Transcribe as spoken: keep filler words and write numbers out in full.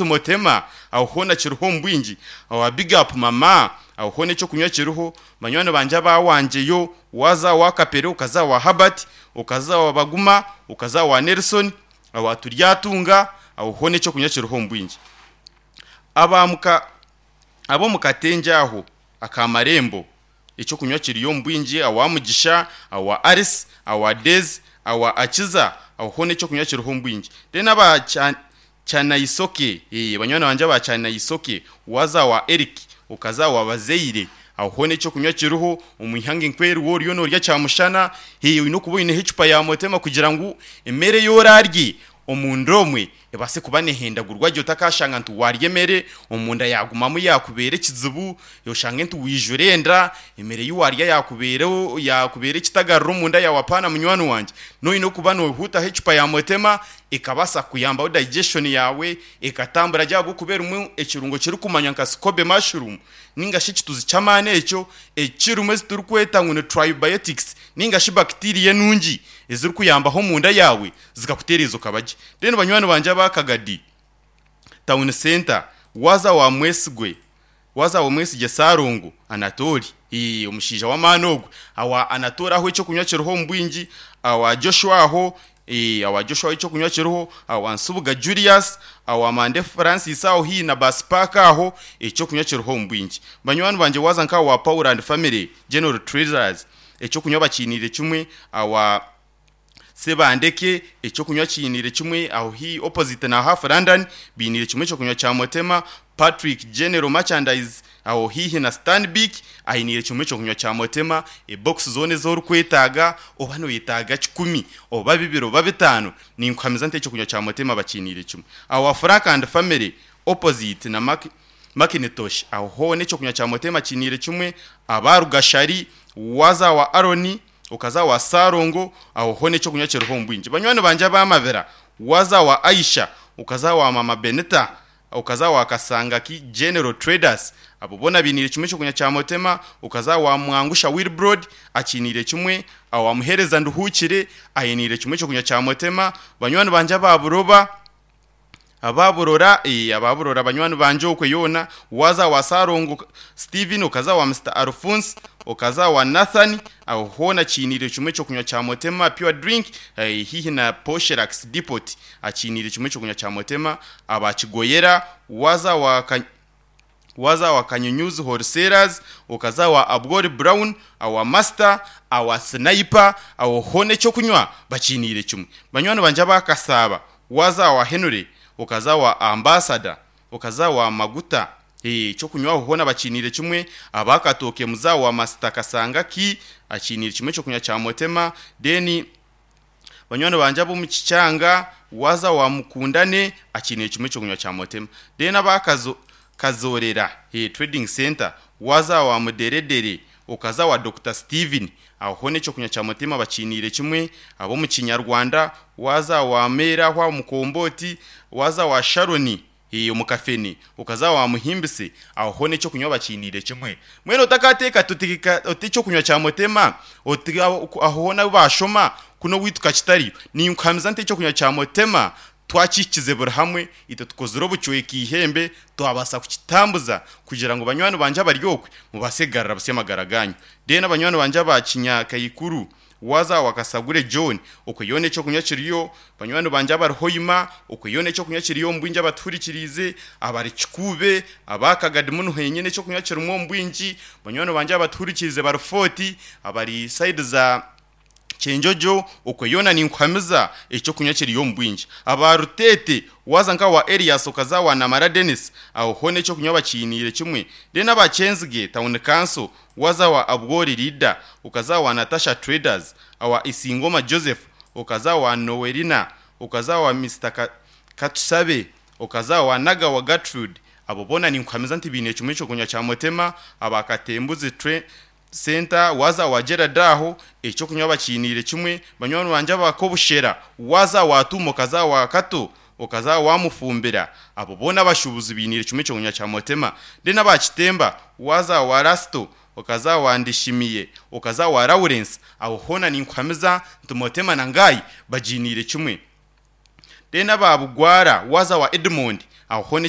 Motema aho hoona kiriho omu bwingi. Awa big up mama, aho hoona ekyokunywa kiriho. Banywani bangye abawangyeyo, waza owa Kapere, okaza owa Herbert, okaza owa Baguma, okaza owa Nelson, owa Turyatunga, aho hoona ekyokunywa kiriho omu bwingi. Abamuka ab'omu Katengye aho aka Marembo, ekyokunywa kiriyo omu bwingi, awa Mugisha, awa Alice, awa Daisy, awa Akiza, aho hoona ekyokunywa kiriho omu bwingi. Then aba Kya Kyanaisoke, eh, banywani bangye aba Kyanaisoke, waza wa Eric, okaza wa Bazeire, aho hoona ekyokunywa kiriho. Omu ihanga enkweri oriyo norya kyamushana, eh, oine okuba oineho ecupa ya Motema kugira ngu emere ei orarye omunda omwe ebaase kuba nehendagurwa gye, otakashanga nti warya emere omunda yagumamu yakubeera ekizibu, oshange nti wijura enda, emere ei warya yakubeera yakubeera ekitagarira omunda yaawe. Apaana munywani wangye, noine okuba nohuutaho ecupa ya Motema ekabaasa kuyambaho digestion yaawe ekatambura gye, ahabw'okuba erimu ekirungo kirikumanywa nka scobe mushroom ninga shi ekituzi ky'amaani ekyo ekirimu eziturikweta ngu ni tribiotics ninga shi bacteria enungi ezirikuyambaho omunda yaawe zikakutereeza okaba gye. Then banywani bangye aba Kagadi Town Center, waza wa Mwesigwe, waza wa Mwesigye Sarongo Anatoli, ee, omushaija w'amaani ogwe, awa Anatoli aho ekyokunywa kiriho omu bwingi, awa Joshua aho, ee, awa Joshua aho ekyokunywa kiriho, awa Nsubuga Julius, awa Mande Francis aho haihi na Bus Park aho ekyokunywa kiriho omu bwingi. Banywani bangye, waza nka awa Paul and Family General Traders, ekyokunywa bakiiniire kimwe, awa Sebandeke ekyokunywa kiiniire kimwe, aho haihi opposite na Half London biiniire kimwe ekyokunywa kya Motema. Patrick General Merchandise aho haihi na Stanbic ainiire kimwe ekyokunywa kya Motema. Ebox zoona ezi orikwetaaga, oba noyetaaga kikumi oba bibiri oba bitaano, ninkuhamiza nti ekyokunywa kya Motema bakiiniire kimwe. Awa Frank and Family opposite na Mac Macintosh aho hoona ekyokunywa kya Motema kiiniire kimwe. Aba Rugashari, waza wa Aaron, okaza wa Sarongo, aho hoona ekyokunywa kiriho omu bwingi. Banywani bangye abamabira, waza wa Aisha, okaza wa Mama Benita, okaza wa Kasangaki General Traders, abo boona bainiire kimwe ekyokunywa kya Motema. Okaza wa Mwangusha Wilbrod akiiniire kimwe, awa Muhereza Nduhukire ainiire kimwe ekyokunywa kya Motema. Banywani bangye aba Buroba, ababurora, eh, ababurora banywani bangye okwe yoona, waza wa Sarongo Steven, okaza wa Mister Alphonse, okaza wa Nathan, aho hoona kiiniire kimwe ekyokunywa kya Motema pure drink, eh, haihi na Poshelax Depot akiiniire kimwe ekyokunywa kya Motema. Abakigoyera, waza wa Ka- waza wa Kanyunyuzi Wholesalers, okaza wa Abwori Brown, awa Master, awa Sniper, aho hoona ekyokunywa bakiiniire kimwe. Banywani bangye abakasaba, waza wa Henry, okaza wa Ambassador, okaza wa Maguta, eh, ekyokunywa aho hoona bakiiniire kimwe. Abakatooke muza wa Master Kasangaki akiiniire kimwe ekyokunywa kya Motema. Then banywani bangye ab'omu Kikyanga, waza wa Mukundane akiiniire kimwe ekyokunywa kya Motema. Then abakazo Kazorera, eh, Trading Center, waza wa Muderedere, okaza wa Doctor Steven, aho hoona ekyokunywa kya Motema bakiiniire kimwe. Ab'omu Kinyarwanda, waza wa Mera aho Mukomboti, waza wa Sharon, eh, omu Kafene, okaza wa Muhimbise, aho hoona ekyokunywa bakiiniire kimwe. Mbwenu otakateeka tutika oti ekyokunywa kya Motema oti aho hoona ahu bashoma kuno owaitu kakitariyo, ninkuhamiza nti ekyokunywa kya Motema twakihikize buri hamwe, itwe tukozire obucweka ihembe twabaasa kukitambuza kugira ngu banywani bangye abari okwe mubaase kugarura busya amagara ganyu. Then abanywani bangye aba Kinyakaikuru, waza wa Kasagure John, okwe yoona ekyokunywa kiriyo. Banywani bangye abari Hoima, okwe yoona ekyokunywa kiriyo omu bwingi, abatuhurikiriize abari Kikuube, abakagadi muno henyine ekyokunywa kirimu omu bwingi. Banywani bangye abatuhurikiriize bari Fort, abari side za Kyenjojo, okwe yoona ninkuhamiza ekyokunywa kiriyo omu bwingi. Aba Rutete, waza nka wa Elias, okaza wa Namara Dennis, aho hoona ekyokunywa bakiiniire kimwe. Then aba Kyenzige Town Council, waza wa Abwori Leader, okaza wa Natasha Traders, awa Isingoma Joseph, okaza wa Noelina, okaza wa Mister Ka Katusabe, okaza wa Nagawa Gertrude, abo boona ninkuhamiza nti biine kimwe ekyokunywa kya Motema. Aba Katembuzi Tre Center, waza wa Gerard aho ekyokunywa bakiiniire kimwe. Banywani bangye abakobushera, waza wa Tumo, okaza wa Kato, okaza wa Mufumbira, abo boona abashuubuzi biiniire kimwe ekyokunywa kya Motema. Then aba Kitemba, waza wa Rasto, okaza wa Ndishimiye, okaza wa Lawrence, aho hoona ninkuhamiza nti Motema na Ngai bagiiniire kimwe. Then aba Bugwara, waza wa Edmond, aho Aho hoona.